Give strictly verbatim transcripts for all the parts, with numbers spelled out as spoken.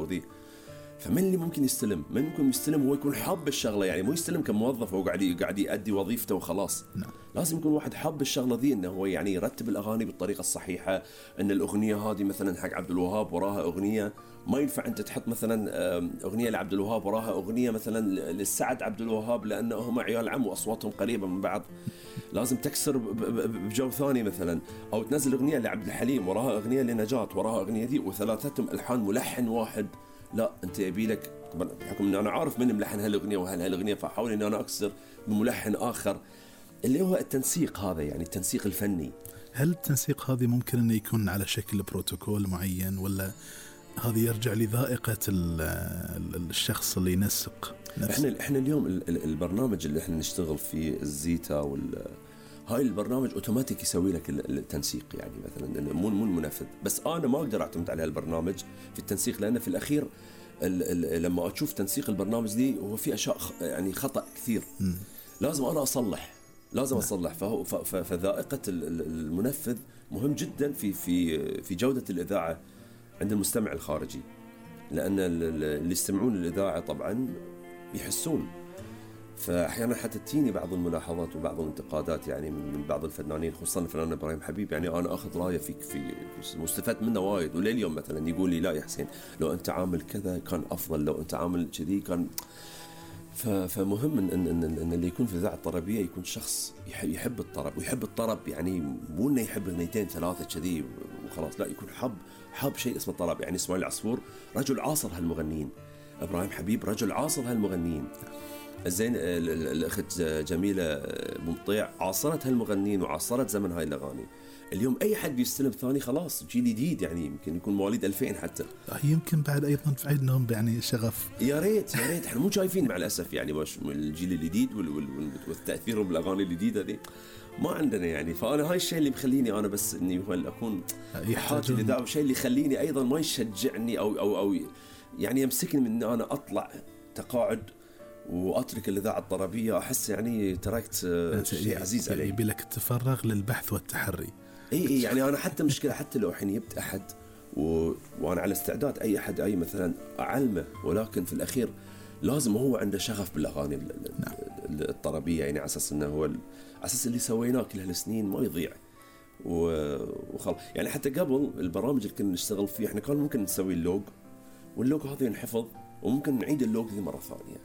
وذي. فمن اللي ممكن يستلم؟ من ممكن يستلم هو يكون حاب الشغلة، يعني مو يستلم كموظف هو قاعد قاعد يؤدي وظيفته وخلاص. نعم. لازم يكون واحد حاب الشغلة ذي، إنه هو يعني يرتب الأغاني بالطريقة الصحيحة. إن الأغنية هذه مثلا حق عبد الوهاب وراها أغنية، ما ينفع أنت تحط مثلا أغنية لعبد الوهاب وراها أغنية مثلا للسعد عبد الوهاب، لأنه هم عيال عم وأصواتهم قريبة من بعض. لازم تكسر بجو ثاني مثلا، أو تنزل أغنية لعبد الحليم وراها أغنية لنجاة وراها أغنية ذي، وثلاثتهم ألحان ملحن واحد. لا، أنت يبي لك بحكم أن أنا عارف من ملحن هالأغنية وهالأغنية، فأحاول أن أنا أكسر بملحن آخر، اللي هو التنسيق هذا، يعني التنسيق الفني. هل التنسيق هذا ممكن أن يكون على شكل بروتوكول معين، ولا هذا يرجع لذائقة الشخص اللي ينسق نفسه؟ إحنا إحنا اليوم البرنامج اللي إحنا نشتغل فيه الزيتا وال هاي البرنامج أوتوماتيك يسوي لك التنسيق، يعني مثلا مو مو المنفذ. بس أنا ما أقدر أعتمد على البرنامج في التنسيق، لأن في الأخير ال ال لما أشوف تنسيق البرنامج دي هو في أشياء يعني خطأ كثير. م. لازم أنا أصلح، لازم م. أصلح. فهو فذائقة المنفذ مهم جدا في في في جودة الإذاعة عند المستمع الخارجي، لأن اللي يستمعون للإذاعة طبعا يحسون. فأحيانا حتى تيني بعض الملاحظات وبعض الانتقادات يعني من بعض الفنانين، خصوصا الفنان إبراهيم حبيب. يعني أنا أخذ رأيه فيك في مستفاد منه وايد، ولليوم مثلا يقول لي لا يا حسين لو أنت عامل كذا كان أفضل، لو أنت عامل كذي كان. فمهم إن, إن, إن اللي يكون في الإذاعة الطربية يكون شخص يحب الطرب ويحب الطرب، يعني مو إنه يحب اثنتين ثلاثة كذي وخلاص، لا، يكون حب حب شيء اسمه الطرب. يعني إسماعيل العصفور رجل عاصر هالمغنيين، إبراهيم حبيب رجل عاصر هالمغنيين، زين الأخت جميلة ممطيع عاصرت هالمغنين وعاصرت زمن هاي الأغاني. اليوم أي حد بيستلم ثاني خلاص جيل جديد، يعني يمكن يكون مواليد ألفين حتى، يمكن بعد أيضا في عندهم يعني شغف. يا ريت يا ريت احنا مو شايفين مع الأسف يعني باش الجيل الجديد والتأثير بالأغاني الجديدة دي ما عندنا يعني. فأنا هاي الشيء اللي مخليني أنا بس إني هو أكون حاجة لذا، وشيء اللي يخليني أيضا ما يشجعني أو أو أو يعني يمسكني من إن أنا أطلع تقاعد وأترك الإذاعة الطربية. أحس يعني تركت شيء عزيز علي. يبي لك تفرغ للبحث والتحري. إيه إيه يعني أنا حتى مشكلة حتى لو حين يبت أحد و... وأنا على استعداد أي أحد أي مثلا أعلمه، ولكن في الأخير لازم هو عنده شغف بالأغاني نعم. الطربية، يعني على أساس إنه هو ال... أساس اللي سويناه كل هالسنين ما يضيع و... وخل يعني حتى قبل البرامج اللي كنا نشتغل فيه إحنا كان ممكن نسوي اللوج، واللوج هذا ينحفظ وممكن نعيد اللوج ذي مرة ثانية،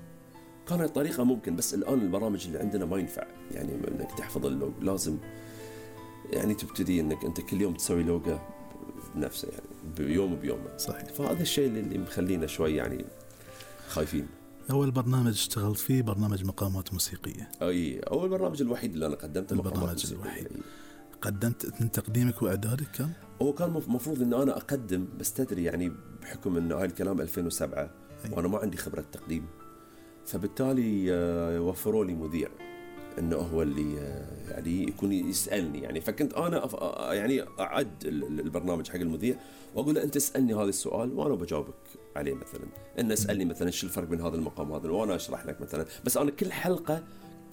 كان الطريقة ممكن. بس الآن البرامج اللي عندنا ما ينفع يعني إنك تحفظ اللوج، لازم يعني تبتدي إنك أنت كل يوم تسوي لوجة بنفسه، يعني بيوم بيوم. صحيح. فهذا الشيء اللي مخلينا شوي يعني خايفين. أول برنامج اشتغلت فيه برنامج مقامات موسيقية. أي أول برنامج الوحيد اللي أنا قدمته البرنامج الوحيد. قدمت من تقديمك وإعدادك كان؟ هو كان مفروض إن أنا أقدم، بس تدري يعني بحكم إنه هاي الكلام ألفين وسبعة أي. وأنا ما عندي خبرة تقديم، فبالتالي وفروا لي مذيع انه هو اللي يعني يكون يسالني يعني. فكنت انا يعني اعد البرنامج حق المذيع واقول له انت اسالني هذا السؤال وانا بجاوبك عليه، مثلا ان اسالني مثلا شو الفرق بين هذا المقام هذا وانا اشرح لك مثلا. بس انا كل حلقه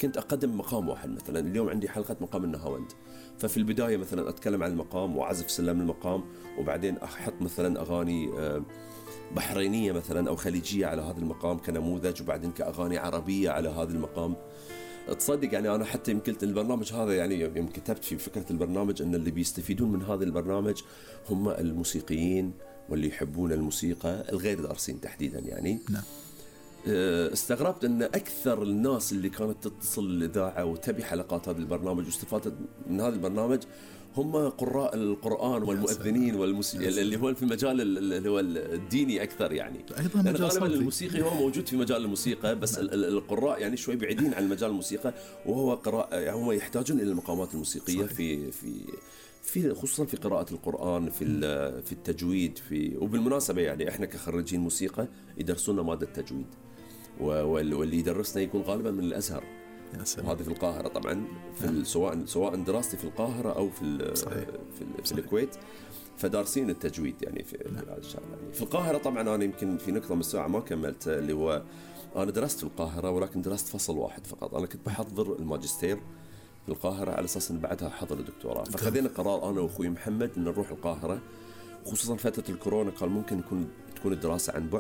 كنت اقدم مقام واحد، مثلا اليوم عندي حلقه مقام النهاوند، ففي البدايه مثلا اتكلم عن المقام واعزف سلم المقام، وبعدين احط مثلا اغاني بحرينية مثلا أو خليجية على هذا المقام كنموذج، وبعدين كأغاني عربية على هذا المقام. تصدق يعني أنا حتى يمكن البرنامج هذا يعني يوم كتبت في فكرة البرنامج أن اللي بيستفيدون من هذا البرنامج هم الموسيقيين واللي يحبون الموسيقى الغير دارسين تحديدا يعني. نعم. استغربت أن أكثر الناس اللي كانت تتصل للإذاعة وتبي حلقات هذا البرنامج واستفادت من هذا البرنامج هم قراء القرآن والمؤذنين والموسيقى اللي هو في المجال اللي هو الديني أكثر يعني. أيضا لأن غالبا الموسيقي هو موجود في مجال الموسيقى، بس القراء يعني شوي بعيدين عن مجال الموسيقى، وهو قراء يعني هم يحتاجون إلى المقامات الموسيقية في في في خصوصا في قراءة القرآن، في في التجويد، في وبالمناسبة يعني إحنا كخريجين موسيقى يدرسونا مادة تجويد، واللي يدرسنا يكون غالبا من الأزهر، وهذا في القاهرة طبعا في سواء سواء دراستي في القاهرة أو في في, في الكويت، فدارسين التجويد يعني في يعني في القاهرة. طبعا أنا يمكن في نقطة من الساعة ما كملت، اللي هو أنا درست في القاهرة ولكن درست فصل واحد فقط. أنا كنت بحضر الماجستير في القاهرة على أساس أن بعدها أحضر الدكتوراه، فخذينا قرار أنا وأخوي محمد أن نروح القاهرة، خصوصا فترة الكورونا كان ممكن يكون تكون الدراسة عن بعد.